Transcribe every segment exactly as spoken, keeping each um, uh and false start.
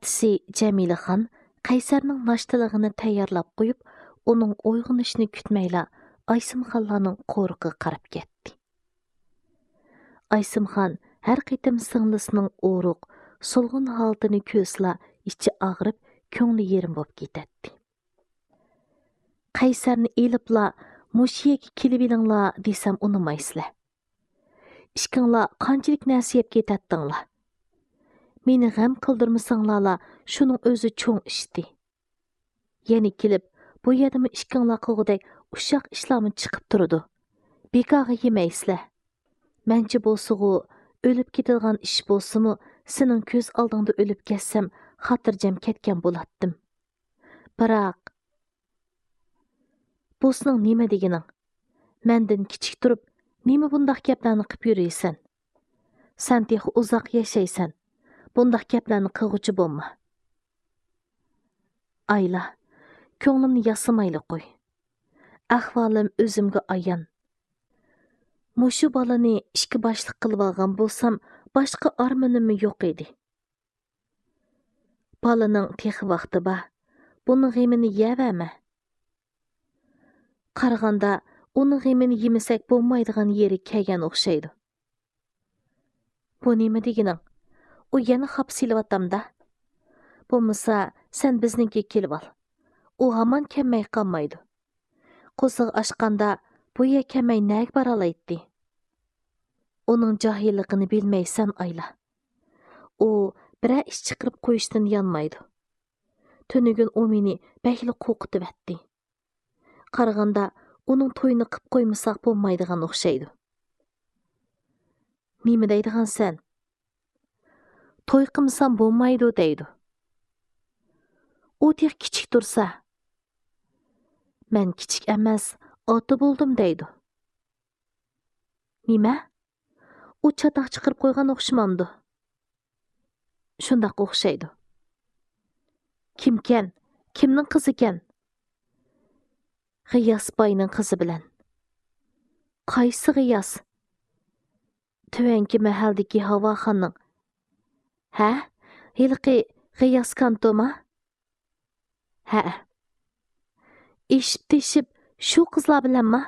ئاچىسى جەمىلىخان قەيسەرنىڭ ناشتىلىقىنى تەييارلاپ قويۇپ، ئۇنىڭ ئويغىنىشىنى كۈتمەيلا ئايسىمخانلارنىڭ قورۇقىغا قاراپ كەتتى. ئايسىمخان ھەر قېتىم سىڭلىسىنىڭ ئورۇق، سولغۇن ھالىتىنى كۆرسىلا ئىچى ئاغرىپ، كۆڭلى يېرىم بولۇپ كېتەتتى. قەيسەرنى ئېلىپلا مۇشۇ يەرگە كېلىۋېلىڭلار دېسەم ئۇنىمايسىلەر. ئىككىڭلار قانچىلىك نەرسە يەپ كېتەتتىڭلار. مېنى غەم قىلدۇرمىساڭلارلا شۇنىڭ ئۆزى چوڭ ئىشتى. يەنە كېلىپ، بۇ يەردىمۇ ئىككىڭلار قىلغۇدەك ئۇششاق ئىشلارمۇ چىقىپ تۇرىدۇ. بىكارغا يېمەيسىلەر. مەنچە بولسىغۇ، ئۆلۈپ كېتىدىغان ئىش بولسىمۇ، سېنىڭ كۆز ئالدىڭدا ئۆلۈپ كەتسەم، خاتىرجەم كەتكەن بولاتتىم. بىراق، بۇ سېنىڭ نېمە دېگىنىڭ؟ مەندىن كىچىك تۇرۇپ، نېمە بۇنداق گەپلەرنى قىپ يۈرىسەن؟ سەن تېخى ئۇزاق ياشايسەن، بۇنداق گەپلەرنى قىلغۇچى بولما. ئايلا، كۆڭلۈمنى ياسىمايلى قوي. ئەھۋالىم ئۆزۈمگە ئايان. مۇشۇ بالىنى ئىككى باشلىق قىلىۋالغان بولسام، باشقا ئارمىنىممۇ يوق ئىدى. بالىنىڭ تېخى ۋاقتى بار. بۇنىڭ غېمىنى يەۋەرمە. قارىغاندا، ئۇنىڭ غېمىنى يېمىسەك بولمايدىغان يېرى كەلگەن ئوخشايدۇ. بۇ نېمە دېگىنىڭ؟ ئۇ يەنە خاپا سېلىۋاتامدا؟ بولمىسا، سەن بىزنىڭكىگە كېلىۋال. ئۇ ھامان كەلمەي قالمايدۇ. قورسىقى ئاچقاندا، بۇ يەر كەلمەي نەگە بارالايتتى؟ ئۇنىڭ جاھىللىقىنى بىلمەيسەن، ئايلا. ئۇ بىرەر ئىش چىقىرىپ قويۇشتىن يانمايدۇ. تۈنۈگۈن ئۇ مېنى بەكلا قورقۇتۇۋەتتى. قارىغاندا، ئۇنىڭ تويىنى قىپ قويمىساق بولمايدىغان ئوخشايدۇ. نېمە دەيدىغانسەن؟ توي قىلمىسام بولمايدۇ دەيدۇ. ئۇ تېخى كىچىك تۇرسا. مەن كىچىك ئەمەس، ئاتا بولدۇم دەيدۇ. نېمە؟ ئۇ چاتاق چىقىرىپ قويغان ئوخشىمامدۇ؟ شۇنداق ئوخشايدۇ. كىمكەن؟ كىمنىڭ قىزىكەن؟ غىياس باينىڭ قىزى بىلەن. قايسى غىياس؟ تۆۋەنكى مەھەلدىكى ھاۋاخاننىڭ. ھە؟ ھېلىقى غىياس كانتوما؟ ھەئە. ئېشىپ تېشىپ شۇ قىزلار بىلەنما؟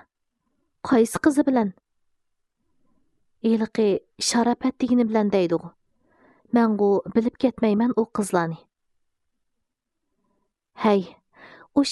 قايسى قىزى بىلەن؟ ھېلىقى شاراپەت دېگىنى بىلەن دەيدىغۇ. مەنغۇ بىلىپ كەتمەيمەن ئۇ قىزلارنى. ھەي، ئۇ